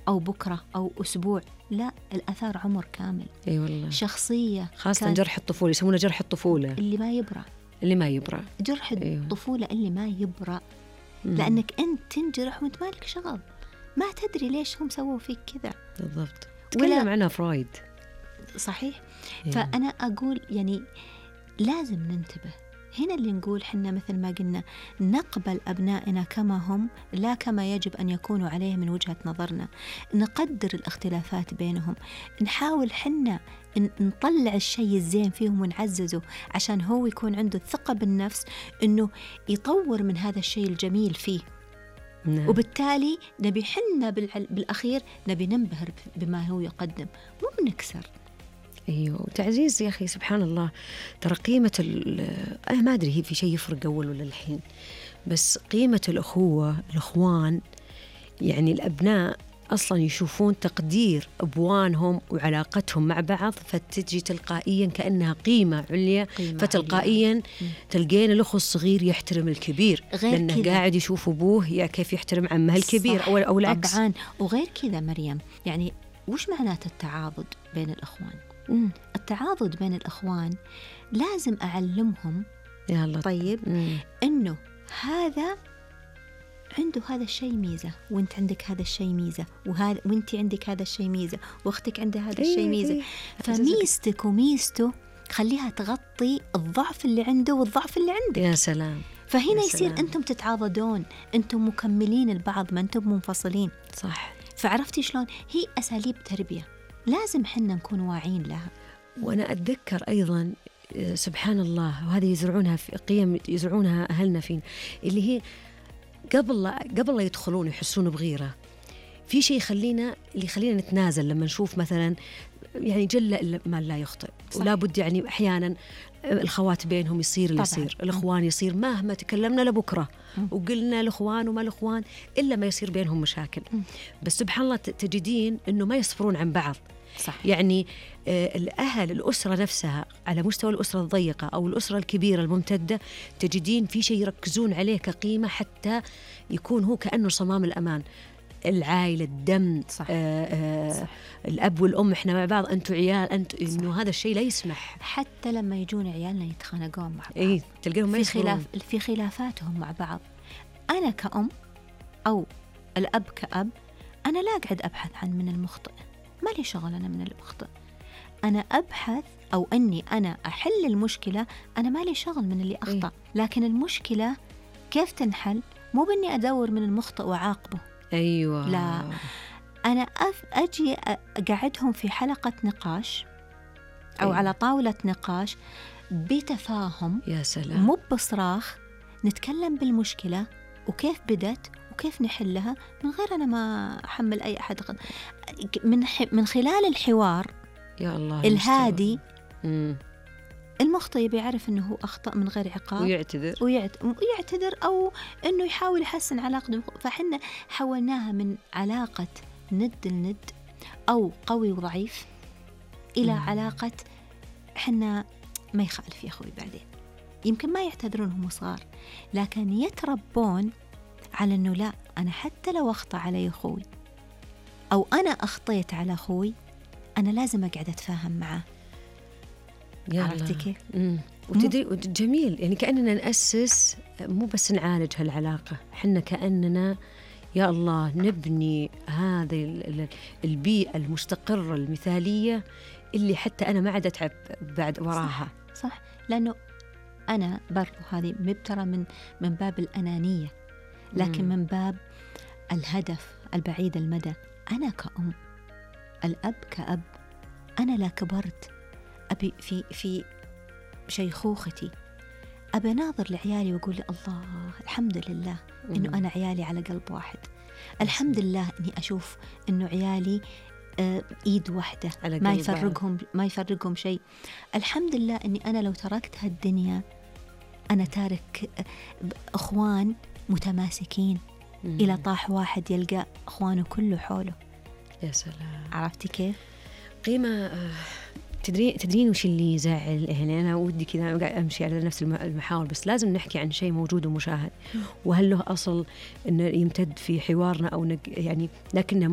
أو بكرة أو أسبوع، لا، الأثار عمر كامل. أي والله. شخصية خاصة جرح الطفولة، يسمونه جرح الطفولة اللي ما يبرأ، جرح الطفولة اللي ما يبرأ. لأنك أنت تنجرح وأنت مالك شغل، ما تدري ليش هم سووا فيك كذا. بالضبط، تكلم عنها فرويد. صحيح. فأنا أقول يعني لازم ننتبه هنا، اللي نقول حنا مثل ما قلنا نقبل أبنائنا كما هم، لا كما يجب أن يكونوا عليه من وجهة نظرنا، نقدر الاختلافات بينهم، نحاول حنا نطلع الشيء الزين فيهم ونعززه عشان هو يكون عنده الثقة بالنفس إنه يطور من هذا الشيء الجميل فيه. نعم. وبالتالي نبي حنا بالأخير نبي ننبهر بما هو يقدم، مو بنكسر. أيوه، وتعزيز يا أخي سبحان الله. ترى قيمة أنا ما أدري هي في شيء يفرق أول ولا الحين، بس قيمة الأخوة، الأخوان، يعني الأبناء أصلا يشوفون تقدير أبوانهم وعلاقتهم مع بعض، فتجي تلقائيا كأنها قيمة عليا، فتلقائيا تلقين الأخو الصغير يحترم الكبير لأنه قاعد يشوف أبوه كيف يحترم عمه الكبير أو العكس. طبعا. وغير كذا مريم، يعني وش معنات التعاضد بين الأخوان؟ التعاضد بين الأخوان لازم أعلمهم يا الله. طيب إنه هذا عنده هذا الشيء ميزة، وانت عندك هذا الشيء ميزة، وانت عندك هذا الشيء ميزة، واختك عندها هذا الشيء ميزة. فميزتك وميزته خليها تغطي الضعف اللي عنده والضعف اللي عندك. يا سلام. فهنا يصير أنتم تتعاضدون، أنتم مكملين البعض، ما أنتم منفصلين. صح. فعرفتي شلون؟ هي أساليب تربية لازم حنا نكون واعين لها. وأنا أتذكر أيضا سبحان الله، وهذه يزرعونها في قيم يزرعونها أهلنا فين، اللي هي قبل لا يدخلون يحسون بغيرة في شيء اللي يخلينا نتنازل لما نشوف مثلا يعني جل ما لا يخطئ. ولا بد يعني أحيانا الخوات بينهم يصير اللي يصير، الإخوان يصير مهما تكلمنا لبكرة وقلنا الإخوان وما الإخوان إلا ما يصير بينهم مشاكل. بس سبحان الله تجدين إنه ما يصبرون عن بعض. صح. يعني الأهل، الأسرة نفسها على مستوى الأسرة الضيقة أو الأسرة الكبيرة الممتدة، تجدين في شيء يركزون عليه كقيمة حتى يكون هو كأنه صمام الأمان. العائلة، الدم. صح. صح. الأب والأم إحنا مع بعض، أنتوا عيال، إنه هذا الشيء لا يسمح. حتى لما يجون عيالنا يتخانقون مع بعض، إيه تلقيهم ما يصبرون في خلافاتهم مع بعض. أنا كأم أو الأب كأب، أنا لا أقعد أبحث عن من المخطئ، ما لي شغل أنا من المخطئ. أنا أبحث أو أني أنا أحل المشكلة، أنا ما لي شغل من اللي أخطأ. لكن المشكلة كيف تنحل؟ مو بني أدور من المخطئ وعاقبه. أيوة. لا، أنا أجي أقعدهم في حلقة نقاش أو على طاولة نقاش بتفاهم. يا سلام. مو بصراخ، نتكلم بالمشكلة وكيف بدت وكيف نحلها من غير أنا ما أحمل أي أحد. من خلال الحوار يا الله الهادي المخطئ بيعرف أنه هو أخطأ من غير عقاب ويعتذر أو أنه يحاول يحسن علاقته. فحنا حولناها من علاقة ند لند أو قوي وضعيف إلى علاقة حنا ما يخالف يا أخوي. بعدين يمكن ما يعتذرون هم صغار، لكن يتربون على أنه لا، أنا حتى لو أخطأ علي أخوي أو أنا أخطيت على أخوي، أنا لازم أقعد أتفاهم معه. عرفتي كيف؟ وتدري جميل، يعني كأننا نأسس، مو بس نعالج هالعلاقة، حنا كأننا يا الله نبني هذه البيئة المستقرة المثالية اللي حتى أنا ما عاد أتعب بعد وراها. صح. لأنه أنا برضو هذه مبترة من باب الأنانية، لكن من باب الهدف البعيد المدى. أنا كأم، الأب كأب، أنا لا كبرت أبي في شيخوختي أبي ناظر لعيالي وأقول الله الحمد لله إنه أنا عيالي على قلب واحد. الحمد لله إني أشوف إنه عيالي إيد واحدة، ما يفرقهم شيء. الحمد لله إني أنا لو تركت هالدنيا أنا تارك أخوان متماسكين إلى طاح واحد يلقى أخوانه كله حوله. يا سلام. عرفتي كيف؟ قيمة. تدرين وش اللي يزعل؟ يعني أنا ودي كذا أمشي على نفس المحاور، بس لازم نحكي عن شيء موجود ومشاهد، وهل له أصل إنه يمتد في حوارنا أو يعني لكنه